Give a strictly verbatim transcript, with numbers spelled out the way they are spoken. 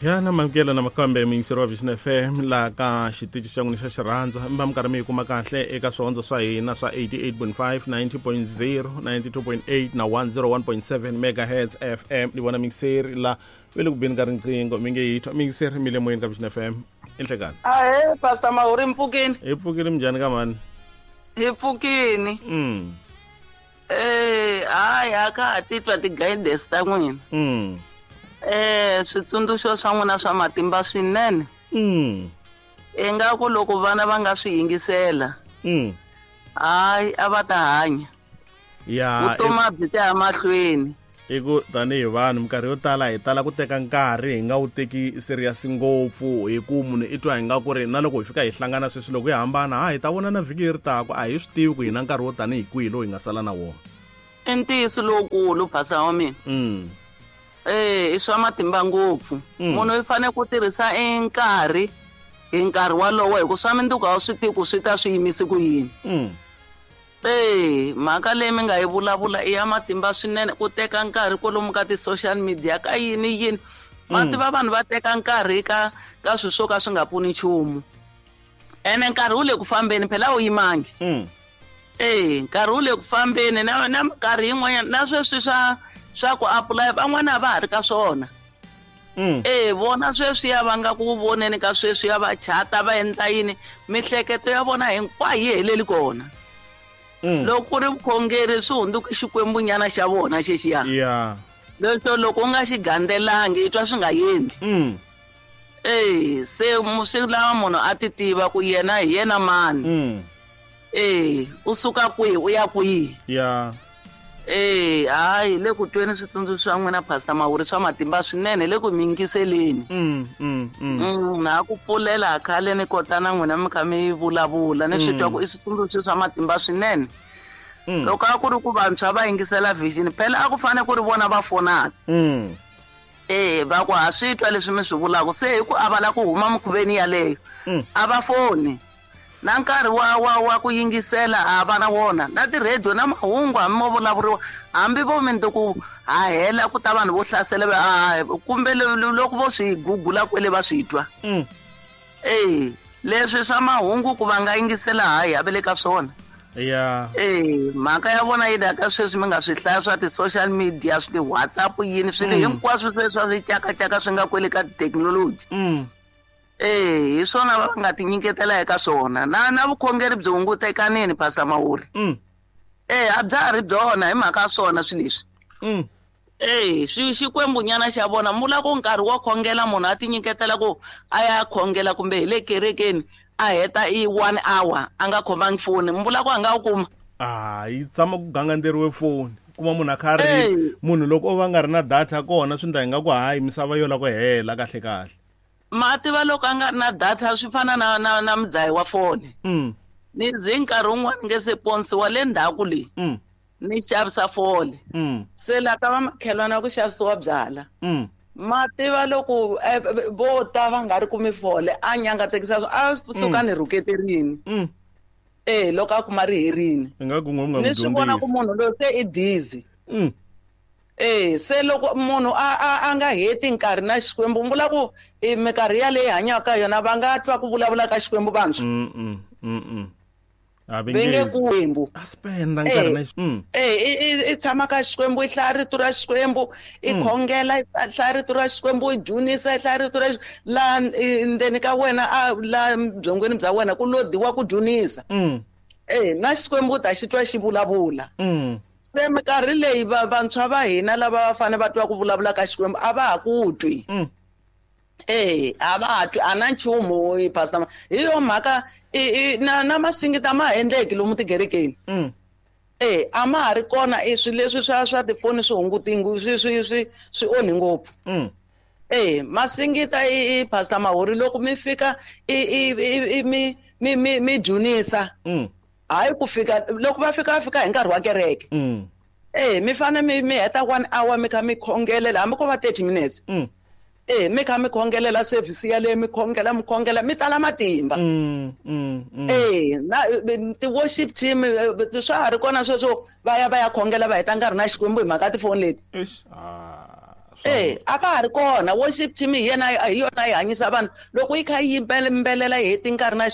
Ya na mamukela na makambe muyingiseri wa Vision F M laha ka xitichi xa n'wina xa xirhandza mi va mi karhi mi yi kuma kahle eka swihondzo swa hina swa eighty-eight point five, ninety point zero, ninety-two point eight na one oh one point seven megahertz F M. Ni vona muyingiseri la ve le ku beni ka riqingho mi nge yi twa muyingiseri mi le moyeni ka Vision F M. I nhlekani. Ahee Pastor Mahuri, mpfukini. Hi pfukile minjhani ka mhani? Hi pfukini. Mm. Eh, hayi a ka ha titwa ti-guidance ta n'wina. Mm. Eh, switsundzuxo swa n'wina swa matimba swinene. Mm. Ingaku loko vana va nga swi yingisela. Mm. Hayi a va ta hanya. Ya, vutomi a byi ta ya mahlweni. I ku tanihi vanhu minkarhi yo tala hi tala ku teka nkarhi hi nga wu teki serious ngopfu hi ku munhu i twa hi nga ku ri na loko hi fika hi hlangana sweswi loko hi hambana ha hi ta vonana vhiki leri taka a hi swi tivi ku hi na nkarhi wo tanihi kwihi lowu hi nga sala na wona. I ntiyiso lowukulu phasa wa mina. Mm. Eh, i swa matimba ngopfu. Mm. Munhu u fanele ku tirhisa nkarhi hi nkarhi walowo hi ku swa mindzuku a wu swi tivi ku swi ta swi yimise ku yini. Mm. Eh, mhaka leyi mi nga yi vulavula i ya matimba swinene ku teka nkarhi kwalomu ka ti-social media ka yini yini. Ma Mm. tiva vanhu va teka nkarhi ka ka swilo swo ka swi nga pfuni nchumu. Ene nkarhi wu le ku fambeni phela a wu yimangi. Mm. Eh, nkarhi wu le ku fambeni na na minkarhi yin'wanyana na sweswi swa swa ku apply van'wana a va ha ri ka swona. Mm. Eh, vona sweswiya va nga ku voneni ka sweswiya va chata va endla yini mihleketo ya vona hinkwayo yi heleli kona. Mm. Loko ku ri vukhongeri swi hundzuka xikwembunyana xa vona xexiya. Yeah. Leswo loko u nga xi gandzelangi i twa swi nga endli. Mm. Eh, se mu-, swi lava munhu a ti tiva ku yena hi yena mani. Mm. Eh, u suka kwihi u ya kwihi. Yeah. Eh, hayi le ku tweni switsundzuxo swa n'wina Pastor Mahuri swa matimba swinene le ku mi yingiseleni. Mm, mm, mm. Mm, na ku pfulela khale ni kota na n'wina mi kha mi vulavula ni swi twa ku i switsundzuxo swa matimba swinene. Mm. Loko a ku ri ku vantshwa va yingisela Vision phela a ku fanele ku ri vona va fonaka. Mm. Eh, va ku ha swi twa leswi mi swi vulaka se hi ku a va lava ku huma mikhuveni yaleyo. Mm. A va foni. Na nkarhi wa, wa, wa ku yingisela a va na wona na ti-radio na mahungu hambi mo vulavuriwa hambi vo mindzuku ha hela ku ta vanhu vo hlasela va, a, kumbe lo-, lo-, loko vo swi gugula kwele va swi twa. Mm. Eh, leswi swa mahungu ku va nga yingisela hayi a va le ka swona. Yeah. Eh, mhaka ya vona yi la ka sweswi mi nga swi hlaya swa ti-social media swi ti-WhatsApp yini swilo Mm. hinkwaswo sweswi swa swityakatyaka swi nga kwele ka tithekinoloji. Mm. Eh, hi swona va nga tinyiketela eka swona. Na, na vukhongeri byi hungutekanini Pastor Mahuri. Mm. Eh, a bya ha ri byona hi mhaka ya swona swilo leswi. Mm. Eh, xi-, xikwembunyana xa vona mula ku nkarhi wo khongela munhu a tinyiketela ku a ya khongela kumbe hi le kerekeni a heta i one hour a nga khomangi foni mula ku a nga wu kuma. Ah, yi tshama ku gangandzeriwe foni. Kuma munhu a kha a ri Eh. munhu loko o va nga ri na data kona swi ndla ingaku hayi misava yo lava ku hela kahle kahle. Ma tiva loko a nga ri na data swi fana na, na, na mudzahi wa foni. Mm. Ni ze nkarhi wun'wani nge se ponisiwa le ndzhaku leyi. Mm. Ni xavisa foni. Mm. Se la ka vamakhelwana ku xavisiwa byala. Mm. Ma tiva loko, eh, vo ta va nga ri kumi fole a nyangatsekisa swo, a suka Mm. ni rhuketerini. Mm. Eh, loko a kuma ri herini. I nga ku n'we mi nga Ni n'wi swi vona ku dyondzisi. munhu loyi se i dizzy. Mm. Eh, se loko munhu a, a, a nga heti nkarhi na Xikwembu, mi vula ku i minkarhi yaleyi hi hanyaka ka yona va nga twa ku vulavula ka Xikwembu vantshwa. Mm, mm, mm, mm. A va Va nge nge Xikwembu. A spend nkarhi na Eh, Xi-, mm. eh, i, i, i tshama ka Xikwembu, i hlaya rito ra Xikwembu, i Mm. khongela, i hlaya rito ra Xikwembu, i dzunisa, i hlaya rito ra Xi-, laha, eh, ndzeni ka wena, a, laha byongweni bya wena ku lodiwa ku dzunisa. Mm. Eh, na Xikwembu u ta xi twa xi vulavula. Mm. Se minkarhi leyi va-, vantshwa va hina lava va fanele va twa ku vulavula ka Xikwembu a va ha ku twi. Mm. Eh, a va ha twi, a na nchumu, eh, Pastor Ma-, hi yo mhaka, i, i, na, na masingita ma ha endleki lomu tikerekeni. Mm. Eh, a ma ha ri kona, i swilo leswi swa, swa tifoni swi hunguti ngu-, swi, swi, swi, swi onhi ngopfu. Mm. Eh, masingita i, i Pastor Mahuri loko mi fika, i, i, i, i, mi, mi, mi, mi dzunisa. Mm. Hayi ku fika loko va fika va fika hi nkarhi wa kereke. Mm. Eh, mi fanele mi, mi heta one hour mi kha mi khongelela hambi ko va thirty minutes. Mm. Eh, mi kha mi khongelela service yaleyo, mi khongela, mi khongela, mi tala matimba. Mm, mm, mm. Eh, na, eh, ti-worship team, eh, swa ha ri kona sweswo va ya va ya khongela va heta nkarhi na Xikwembu hi mhaka tifoni leti. Eish, ah, Eh, a ka ha ri kona. Worship team hi yena, hi yona yi hanyisa vanhu. Loko yi kha yi yimbelela yi heti nkarhi na